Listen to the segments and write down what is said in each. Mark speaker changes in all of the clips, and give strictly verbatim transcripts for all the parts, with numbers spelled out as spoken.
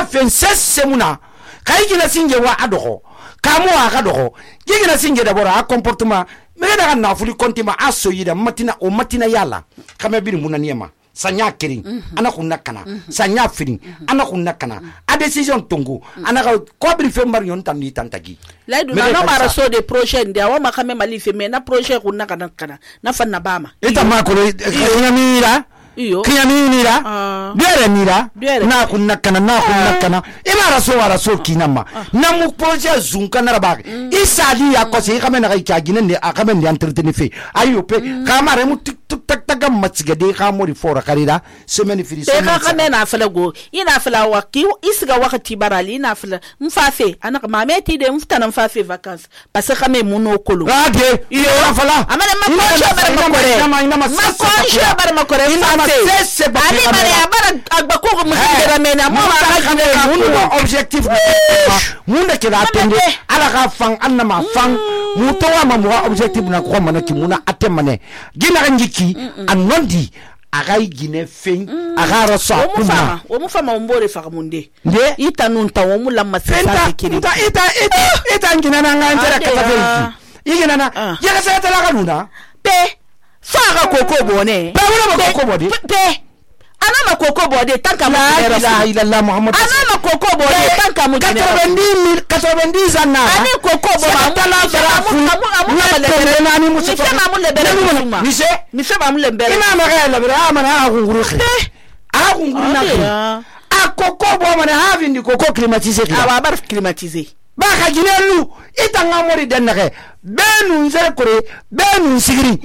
Speaker 1: fen sesemuna kai gina singe wa adoho kamo aga doho gina singe da bora a comportement me da na fuli kontima aso yida matina o matina yala kama biri munaniyama sanya kirin mm-hmm. ana kunna kana mm-hmm. sanya firin mm-hmm. ana kunna kana mm-hmm. a decision tongo mm-hmm. ana ko biri fe mbar yon tan ni tantagi
Speaker 2: laidu na no mara so de projet ndia wa makame mali fe me na projet kunna kana kana na fanna bama
Speaker 1: ita ma ko ina mira iyo kiyani mira uh, biere mira biere. na kunna kana na kunna uh, kana imara so wara so kinama uh, na mu projet zunka na rabak mm, isali ya ko se kame na kai kagine ne akame ndi entretenir fe ayo pe mm, kamare mu tik tak tak matsiga de khamori fora karida semaine firi
Speaker 2: semaine ka kame na fala go ina fala waki isiga wakati barali ina fala mfafe ana mameti de mfutana mfafe vacances parce que kame muno kolo
Speaker 1: rade iyo fala
Speaker 2: amana makosho bara makore makosho bara makore
Speaker 1: sese ba
Speaker 2: ali bare bara agbako muzindera mena mo bara
Speaker 1: muno objectif munda kira atende ala ka fang anna ma fang muto wa mamu objectif na ko mana ki muna atemane gina ngiki anondi agai gine fen agara so kuma
Speaker 2: o mu fama mbore fa munde
Speaker 1: nde
Speaker 2: ita nunta wo mu lamma sesa kiri
Speaker 1: ita ita ita ita ngina na nganja ka tabenki igina na yega sa tala kanuna
Speaker 2: pe fa ga koko bone
Speaker 1: pe wala koko bode
Speaker 2: pe ana makoko bode tanka mu
Speaker 1: la ilaha illallah muhammad
Speaker 2: ana makoko bode tanka mu
Speaker 1: quatre-vingt-dix quatre-vingt-dix anna
Speaker 2: ani koko bo ma
Speaker 1: tala bara
Speaker 2: mu lebere
Speaker 1: nani mu se
Speaker 2: ma mu lebere ma
Speaker 1: mi se
Speaker 2: mi se ma mu lebere
Speaker 1: ina ma ga lebere amana a gunguru a gunguru na a koko bo mana ha vindi koko climatisé
Speaker 2: awa bar climatisé
Speaker 1: ba ka jinelu itanga mori denake benu nzere kore benu sigiri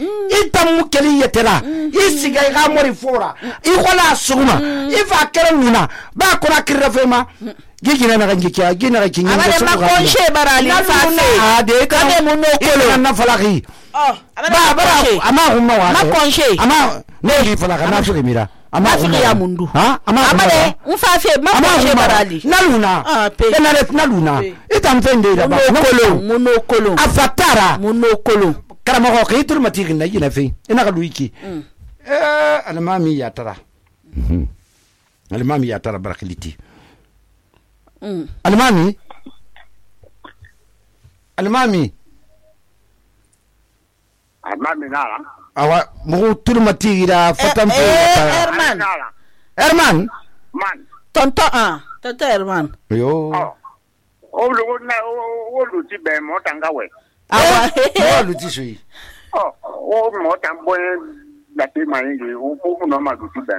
Speaker 1: itamu keli yetera isiga ga mori fora ikola suguma ifa kere nuna ba kora kirafema gigina na ngikya gina ga kinga
Speaker 2: amane makonshe barali fa
Speaker 1: de ka muno kolo na falaki
Speaker 2: oh
Speaker 1: ba bara ama humma wa
Speaker 2: makonshe
Speaker 1: ama ne falaka na sure mira ama
Speaker 2: ya mundu
Speaker 1: ha ama
Speaker 2: amane mfafe makonshe barali
Speaker 1: naluna
Speaker 2: ah pe
Speaker 1: na naluna itamfende da ba
Speaker 2: kolo muno kolo
Speaker 1: afatara
Speaker 2: muno kolo
Speaker 1: karama ko kitur matigi na yina fe ina ga luiki eh almami ya tara almami ya tara barakiliti almami almami
Speaker 3: almami nala
Speaker 1: awa mo turmati da fatam pe
Speaker 2: Herman
Speaker 1: Herman
Speaker 3: man
Speaker 2: tonto ah tonto Herman
Speaker 1: yo
Speaker 3: o lu na o lu ti be mo tanga we
Speaker 2: awa
Speaker 1: o lu ti sui
Speaker 3: oh o mo tambo la te mai ngi o o no ma lu ti be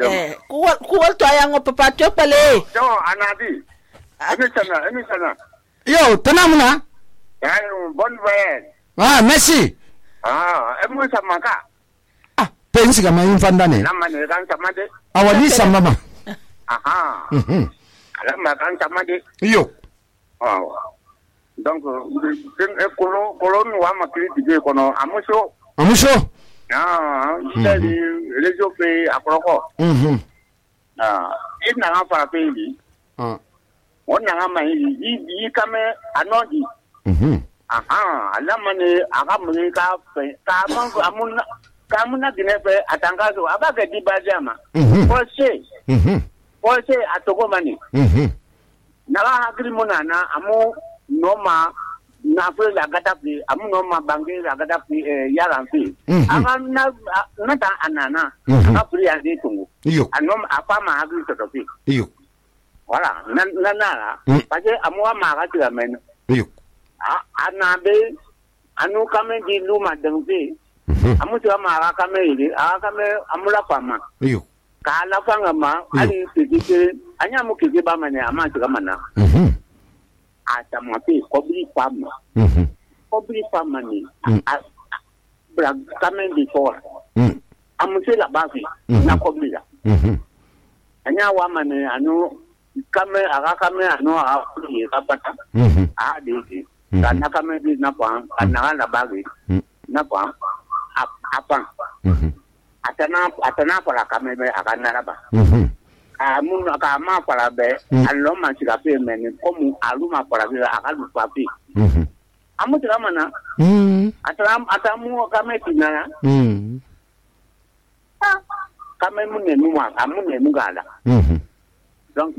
Speaker 2: eh ku ku to ayango papa to pale
Speaker 3: yo anadi ani sana ani sana
Speaker 1: yo tanamuna
Speaker 3: ay bon voyage
Speaker 1: ah merci
Speaker 3: ah emu sama ka
Speaker 1: ah pensi kama infandane
Speaker 3: nama ne kan sama de
Speaker 1: awali sama mama
Speaker 3: aha
Speaker 1: mhm
Speaker 3: alama kan sama de
Speaker 1: yo
Speaker 3: oh donc den e kolo kolo no wa makiri dige kono amuso
Speaker 1: amuso
Speaker 3: ah c'est les opé akroko
Speaker 1: mhm
Speaker 3: ah ina nga fa pe ni
Speaker 1: ah
Speaker 3: wonna nga mai yi yi kame anodi
Speaker 1: mhm
Speaker 3: aha alama ne aga mun ka ka man amun ka mun na dine pe atanga so abaga di bajama ko se
Speaker 1: mhm
Speaker 3: ko se atogo mani
Speaker 1: mhm
Speaker 3: na ha agri monana amu noma na fe la gata fi amu noma bangi la gata fi yara fi aga na na ta anana aga pri ade tungu
Speaker 1: iyo
Speaker 3: anom apa ma agri to fi
Speaker 1: iyo
Speaker 3: wala na na na parce amu ma ga tira men
Speaker 1: iyo
Speaker 3: anabe anu kame di luma dengbe amu tiwa ma kame ile a kame amula pama
Speaker 1: iyo
Speaker 3: ka la fanga ma ali tike anya mu kike ba mane ama tiga mana
Speaker 1: mhm
Speaker 3: ata ma pe kobri pama
Speaker 1: mhm
Speaker 3: kobri pama ni bra kame di fora
Speaker 1: mhm
Speaker 3: amu se la bafi na kobri la
Speaker 1: mhm
Speaker 3: anya wa mane anu kame aga kame anu a kuli ka pata
Speaker 1: mhm
Speaker 3: a de kana kame di na pa kana la bagi na pa apa atana atana para kame be akana la ba amun ka ma para be allo ma sika pe men komu aluma para be akalu papi amu tira mana atana atamu kame tinana kame mun ne mu ma amun ne mu gala donc